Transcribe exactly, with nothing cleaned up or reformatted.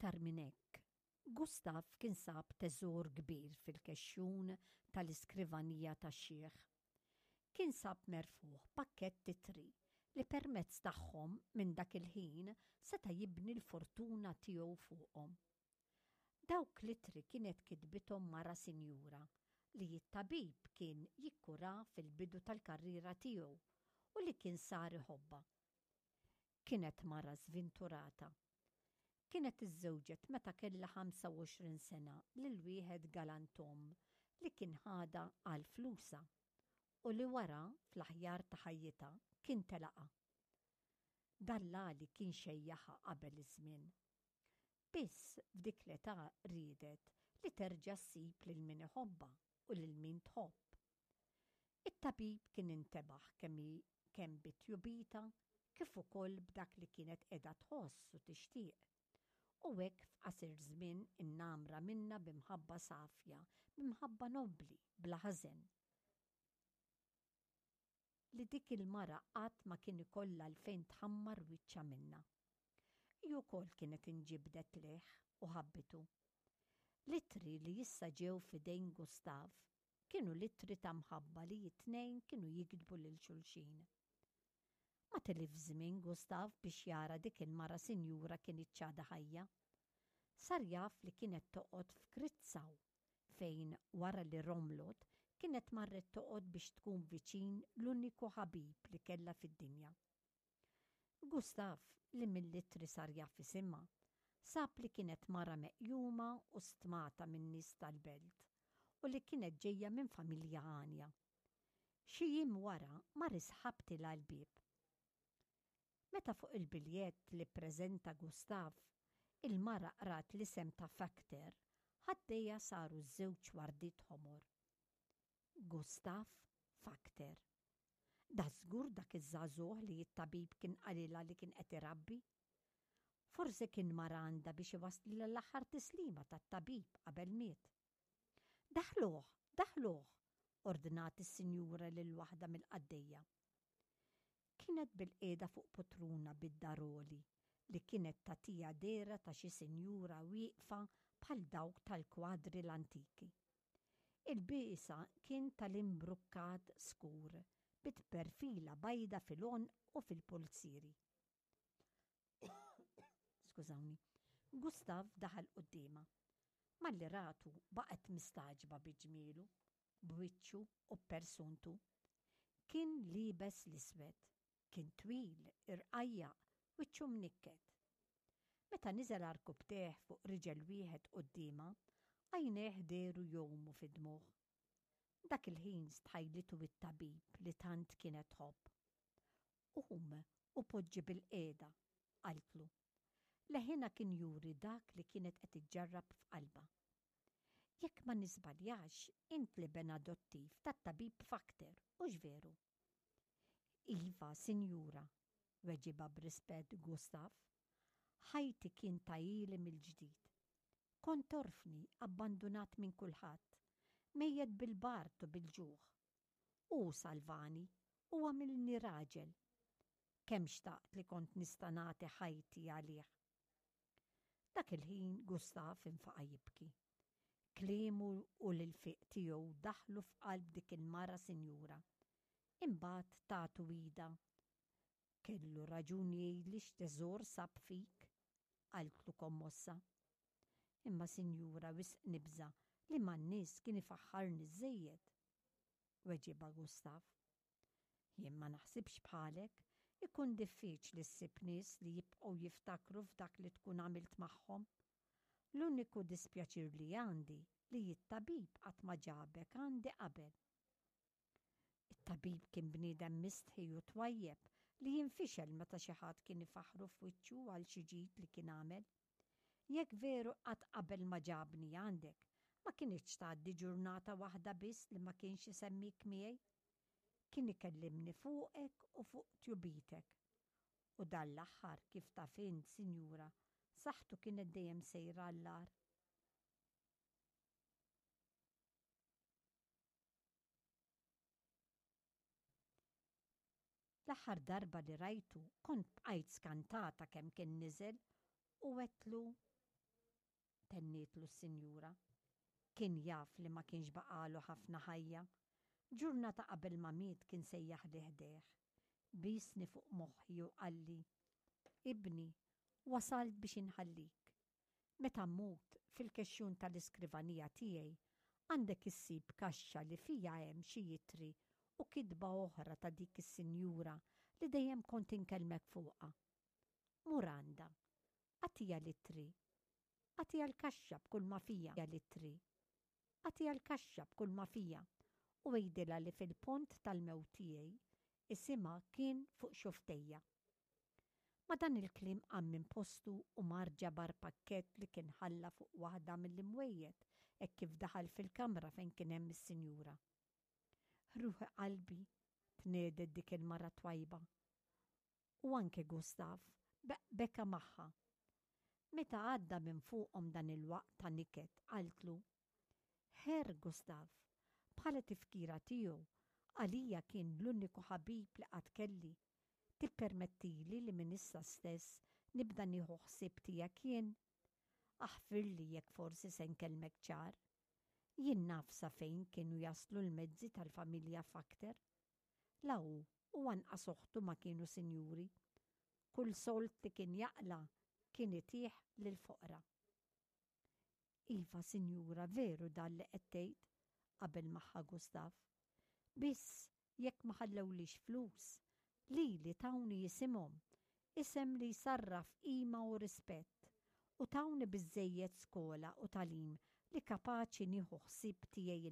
Iktar minn hekk, Gustav kien sab teżor kbir fil-kexxun tal-iskrivanija tax-xiħ. Kien sab merfugħ pakkett ittri li permezz tagħhom minn dak il-ħin seta' jibni l-fortuna tiegħu fuqhom. Dawk l-ittri kienet kitbithom mara sinjura li t-tabib kien jikkura fil-bidu tal-karriera tiegħu u li kien sar iħobbha. Kienet mara żvinturata. Kienet iżżewġet meta kellha ħamsa u għoxrin sena lil wieħed galantom li kien ħadha għal flusha u li wara fl-aħjar ta' ħajjitha kien telaqha. Dallali kien xejjaħha qabel iż-żmien. Biss f'dik l-età riedet li terġa' ssib lil min iħobbha u lil min tħobb. It-tabib kien intebaħ kemm hi kemm bit-tjubita kif ukoll b'dak li kienet qiegħda tħoss u tixtieq. U hekk f'qasir żmien innamra minnha b'imħabba safja, b'imħabba nobbli, bla ħażen. Li dik il-mara qatt ma kien ikollha għalfejn tħammar wiċċha minnha. Hi wkoll kienet inġibdet lejh u ħabbitu. L-ittri li issa ġew f'idejn Gustav kienu l-ittri ta' mħabba li t-tnejn kienu jiktbu lil xulxin. Ma tilif żmien Gustav biex jara dik il-mara sinjura kinitx għadha ħajja. Sar jaf li kienet toqgħod f'Kritzaw, fejn wara li romlot kienet marret toqgħod biex tkun viċin l-uniku ħabib li kellha fid-dinja. Gustav, li mill-ittri sar jaf isimha, sab li kienet mara meqjuma u stmata min-nies tal-belt u li kienet ġejja minn familja għanja. Xi jiem wara mar isħabtilha l-bieb. Meta fuq il-biljett li ppreżenta Gustav, il-mara qrat l-isem ta' Factor, ħaddejha saru żewġ wardiet ħomor. Gustav Factor. Da żgur dak iż-żagħżugħ li t-tabib kien qalilha li kien qed irabbi. Forsi kien mar għandha biex iwasslilha l-aħħar tislima tat-tabib qabel miet. Daħluh, daħluh, ordnat is-sinjura lil waħda mill-qaddejja. Kienet bilqiegħda fuq putruna bid-daroli li kienet tagħtiha dehra ta' xi sinjura wieqfa bħal dawk tal-kwadri l-antiki. Il-biesa kien tal-imbrukkat skur bi tperfila bajda fil-għonq u fil-pulzieri. Skużawni. Gustav daħal quddiemha. Malli ratu baqgħet mistagħġba bi ġmielu, b'wiċċu u b'persuntu. Kien liebes l-iswed, kien twil, irqajjaq, wiċċu mnikket. Meta niżel għarkupptejh fuq riġel wieħed quddiemha, għajnejh dehru jgħumu fid-dmugħ. Dak il-ħin stħajlitu it-tabib li tant kienet tħobb. Qum u poġġi bilqiegħda, qaltlu. Leħinha kien juri dak li kienet qed iġġarrab f'qalbha. Jekk ma niżbaljax, int l-iben adottiv tat-tabib Fakter, hux veru? Iva, sinjura, weġibha b'rispett Gustav. Ħajti kien tagħili mill-ġdid. Kont orfni, abbandunat minn kulħadd, mejjet bil-bard u bil-ġuħ. Hu salvani u għamilni raġel. Kemm xtaqt li kont nista' nagħti ħajti għalih. Dak il-ħin Gustav infaqa' jibki. Kliemu u l-ilfiq tiegħu daħlu f'qalb dik il-mara sinjura. Imbagħad tagħtu idha. Kellu raġun jgħidli x'teżor sab fik, qaltlu kommossa. Imma sinjura wisq nibża' li man-nies kien ifaħħarni żejjed. Weġibha Gustav. Jien ma naħsibx bħalek, ikun diffiċli ssib nies li jibqgħu jiftakru f'dak li tkun għamilt magħhom. L-uniku dispjaċir li għandi li t-tabib qatt ma ġabek għandi qabel. It-tabib kien bniedem mistħi u twajjeb li jinfixel meta xi ħadd kien ifaħħru f'wiċċu għal xi ġid li kien għamel. Jekk veru qatt qabel ma ġabni għandek, ma kinitx tgħaddi ġurnata waħda biss li ma kienx isemmik miegħi. Kien ikellimni fuqek u fuq tjubitek. U dan l-aħħar kif taf int, sinjura, saħħtu kienet dejjem sejra għall-agħar. L-aħħar darba li rajtu kont bqajt skantata kemm kien niżel u għedtlu, tennietlu s-sinjura. Kien jaf li ma kienx baqagħlu ħafna ħajja. Ġurnata qabel ma miet kien sejjaħli ħdejh. Biesni fuq moħħi u qalli, Ibni, wasalt biex inħallik. Meta mmut fil-kexxun tal-iskrivanija tiegħi għandek issib kaxxa li fiha hemm xi ittri u kitba oħra ta' dik is-sinjura li dejjem kont inkellmek fuqha. Mur għandha, agħtiha l-ittri, agħtiha l-kaxxa b'kull ma fiha l-ittri, agħtiha l-kaxxa b'kull ma fiha u għidilha li fil-pont tal-mewt tiegħi isimha kien fuq xufftejja. Ma' dan il-kliem qam minn postu u mar ġabar pakkett li kien ħalla fuq waħda mill-imwejjed hekk kif daħal fil-kamra fejn kien hemm is-sinjura. Ruħi qalbi, tnehdet dik il-mara twajba. U anke Gustav beka magħha. Meta għadda minn fuqhom dan il-waqt ta' niket, qaltlu, Herr Gustav, bħala tifkira tiegħu, għalija kien l-uniku ħabib li qatt kelli. Tippermettili li minn issa stess nibda nieħu ħsieb tiegħek jien? Aħfirli jekk forsi se nkellmek ċar. Jien naf sa fejn kienu jaslu l-mezzi tal-familja Fakter. La hu u anqas oħtu ma kienu sinjuri. Kull sold li kien jaqla' kien itih lill-foqra. Iva, sinjura, veru dan li qed tgħid, qabel magħha Gustav. Biss jekk ma ħallewlix flus, lili tawni isimhom, isem li jsarraf qima u rispett, u tawni biżżejjed skola u tagħlim li kapaċi nieħu ħsieb tiegħi.